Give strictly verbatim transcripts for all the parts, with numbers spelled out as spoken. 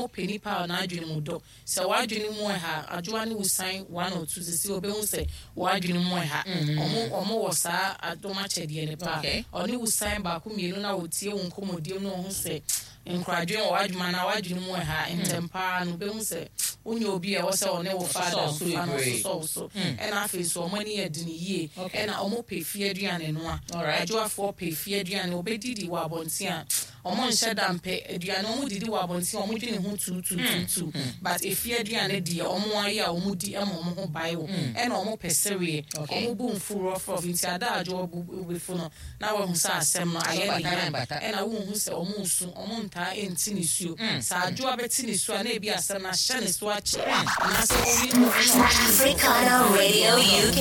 Ɔmo pɛ nipa a n'adwene mu dɔ. Sɛ w'adwene mu ɛha, adwoa ne wo sign one or two sisi, obehu sɛ w'adwene mu ɛha. Ɔmo ɔmo wɔ saa adom akyɛdeɛ ne paa. Okay. Ɔne wo sign baako mmienu na wotie wo nkɔmmɔdiem na ɔho sɛ nkoradwene wɔ w'adwuma na w'adwene mu ɛha ntɛm paa no, obehu sɛ wonyɛ obi a ɛwɔ sɛ ɔne wo fa Ɔsosɔ wo so adamfofa no. Bebree. Ɔsosɔ wo so. Ɛna afei so ɔmo ani yɛ den yie. Okay. Ɛna ɔmo pɛ fie aduane no a Alright. adwoafoɔ pɛ fie aduane. Obɛdidi wɔ abɔnten a, ɔmo nhyɛ da mpɛ aduane. Ɔmo didi wɔ abɔnten a, ɔmo dwene ho tuutuutuutu, but efie aduane deɛ, ɔmo ayɛ a ɔmo di ɛma ɔmo ho bae wɔ. Ɛna ɔmo pɛ sereɛ. Okay. Ɔmo bu nfu rɔfrɔf, nti ada adwo ɔbu bɛfu no na wahu sɛ asɛm no ayɛ ne bata na ya. mbata. Ɛna wohu sɛ ɔmo nsu, ɔmo ntaa ɛnti ne suo. Sɛ adwo abɛti ne suo a, na ebi asɛm no ahyɛ ne so akyɛ anaasɛ ɔne ɔne Africana Radio U K,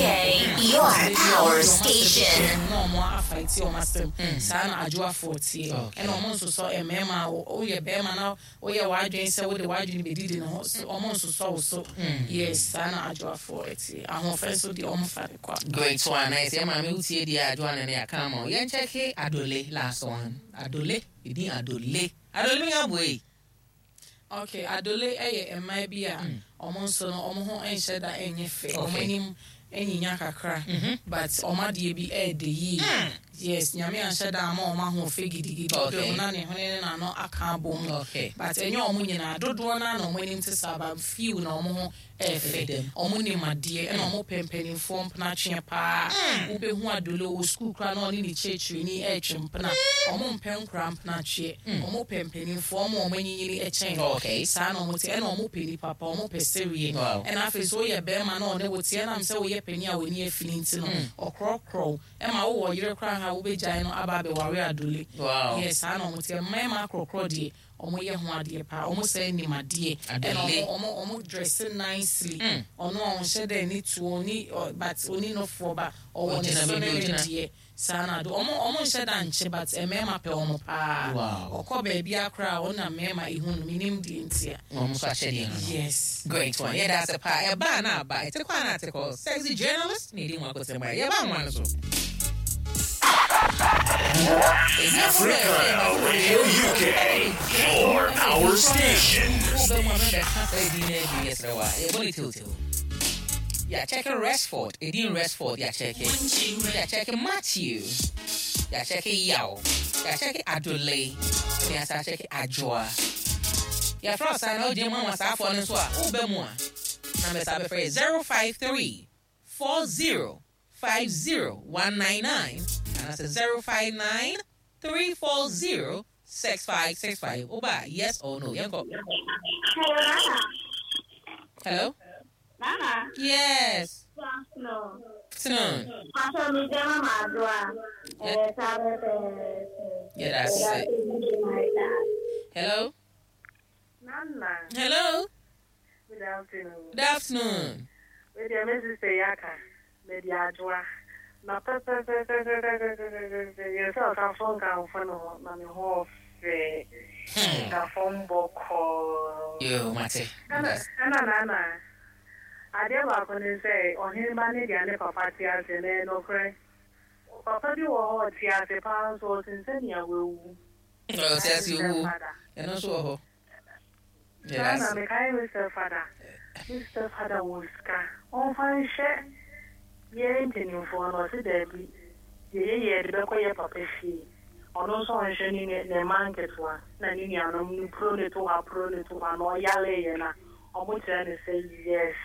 your power station. Na ɔmo afaiti ɔmo asɛm saa na adwoafoɔ tie. Okay. Ɛna ɔmo nsosɔ mmarima a wo- woyɛ bɛrima na woyɛ w'adwene sɛ wode w'adwene bɛdidi ne ho so, ɔmo nsosɔ wo so. Yes, saa na adwoafoɔ tie. Ahoɔfɛ nso deɛ, ɔmo fa ne kwa. Great one. Nice. Yeah, maame, wotie deɛ adwoa ne ne aka ama wo. Yɛnkyɛke Adole, last one. Adole, ɛdin Adole. Adole mi aboe. Okay, adole ɛyɛ mmaa bi a ɔmo nso no, ɔmo ho nhyɛ da ɛnyɛ fɛ. Ɔmo Okay. anim ɛnyinya kakra, but ɔmo adeɛ bi ɛɛdɛ yie. Yes, Nyame anhyɛ da ama ɔmo ahoɔfɛ gidigidi. Okay. Ɔbɛn na ne hwene ne n'ano aka abɔ mu. Okay. But ɛnyɛ ɔmo nyinaa, dodoɔ naa na ɔmo anim te saa, but few na ɔmo ho ɛɛfɛ. Ɛdɛm. Ɔmo nim adeɛ, ɛna ɔmo pɛ mpanimfoɔ mpena paa. Wobɛhu adole wɔ sukuu koraa na ɔne ne kyerɛkyerɛni ɛɛtwe mpena. Ɔmo mpɛ nkora mpena, ɔmo pɛ mpanimfoɔ, ɔmo a ɔmo anyinyini ɛkyɛn. Okay. Saa na ɔmo te. Ɛna ɔmo pɛ nipa pa, ɔmo pɛ sereɛ. Wow. Ɛna afei so woyɛ bɛrima na ɔne wo te, ɛnam sɛ woyɛ panin a w'ani afini nti no, ɔkorɔkorɔw ɛma wowɔ yere koraa ha, wobɛgyae no aba abɛware adole. Wow. Yes, saa na ɔmo te. Mmarima akorɔkorɔ deɛ, ɔmo yɛ ho adeɛ paa, ɔmo sɛ nim adeɛ. Ɛna Adole. ɔmo ɔmo ɔmo dress nicely. Mm. Ɔno a ɔnhyɛ dɛ ne tuo ni ɔ, but oni nofoɔ ba ɔwɔ ne Ɔgyina so baabi ne a ne ɔgyina. deɛ saa na do ɔmo ɔmo nhyɛ da nkye, but mmarima pɛ ɔmo paa. Wow. Ɔkɔ baabi akora a, ɔna mmarima ihu no, minim deɛ ntia. Wɔn nso ahyɛdeɛ no no. Yes. Great one. Yɛda ase paa. Ɛbaa na aba. Ɛte kɔ a na ate kɔ. Sexy journalist na ɛdi mu akɔtɛm a. Yɛba nwa no so. Africana Radio U K, your power station. Wobɛ mu a mɛbɛka saa ɛdin no adi, yɛsrɛ wa. Yɛbɔ ne tewtew. Yɛakyɛke Resford. Ɛdin Resford yɛakyɛke. Yɛakyɛke Matthew. Yɛakyɛke Yaw. Yɛakyɛke Adole. Ne yɛasa akyɛke Adwoa. Yɛfrɛ wo saa na wogyina mu ama saafoɔ no nso a, wobɛ mu a, na mɛsa bɛfrɛ yɛ zero five three four zero five zero one nine nine anaasɛ zero five nine three four zero six five six five. Woba, yes or no? Yɛnkɔ. Hello, Nana. Hello? Nana. Yes. Good afternoon. Afternoon. Pastor mi jẹ́ Mama Adua. Ẹ̀ sábẹ́ fẹ́. Yeah, that's it. Hello? Nana, Hello? Good afternoon. Good afternoon. With your Missus Yaka, Lady Adwa. Na pɛpɛpɛpɛpɛpɛpɛpɛ yɛ sɛ ɔkamfo nkamfo no na ne ho ɔfɛ na fam bɔkɔɔ. Yo, mate. Ɛna ɛna nana, adeɛ baako ne sɛ ɔhene ba ne deɛ ne papa te ase na ɛyɛ nokorɛ. Papa bi wɔ hɔ, ɔte ase paa nso ɔsen sɛnea wawu. Ɔte ase owu. Ɛno nso wɔ hɔ. Saa na mekae me stepfather. Me stepfather wɔ sika. Ɔmfa nhyɛ yɛn mpanimfoɔ no, ɔse daabi. Deɛ yɛyɛ yɛde bɛkɔ yɛ papa fie. Ɔno nso ɔnhwɛ ne ne ne mma nketewa na ne nuanom no puro ne to hɔ, puro ne to hɔ na ɔyaleeɛ na ɔmo kyerɛ ne sɛ yes,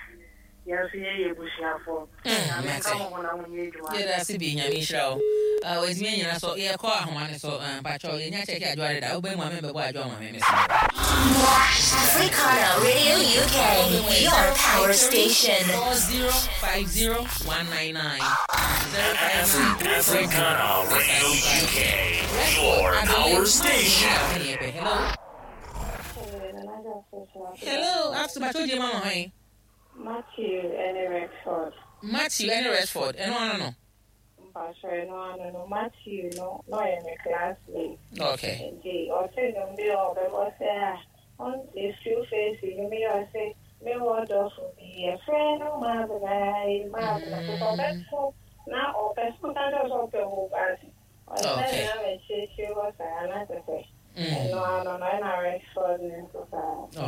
yɛn nso yɛyɛ abusuafoɔ. Nyame nka mo ho na monyɛ adwuma. Yɛda ase bi, Nyame nhyira wo. Ah, wɔatumi anyina so. Yɛkɔ ahoma ne so. Ah, mpakyɛw, yɛnya kyɛke adwoa deda. Wobɛn mu a, membɛbɔ adwoa ma me mesrɛ. Africana Radio U K, your power station. four zero five zero one nine nine Africana Radio U K, your power station. Hello? Hello, after mpakyɛw, gye mama hwan? Matthew ɛne Rexford. Matthew ɛne Rexford, ɛno ano no. Mpakyɛ, no ano no, Matthew no na ɔyɛ me classmate. Okay. Nti ɔte nnwom bi a ɔbɛbɔ sɛ a ɔnte few face nnwom yi, ɔse mewɔ dɔfo bi yɛfrɛ no Mabena yi, Mabena sɛ ɔbɛto na ɔpɛ sɛ ɔka kyerɛ sɛ ɔpɛ wo, but ɔsɛ Okay. na mɛkyerɛkyerɛ hɔ saa na kyɛ sɛ Mm. ɛno ano no, ɛna Rexford ne nso saa.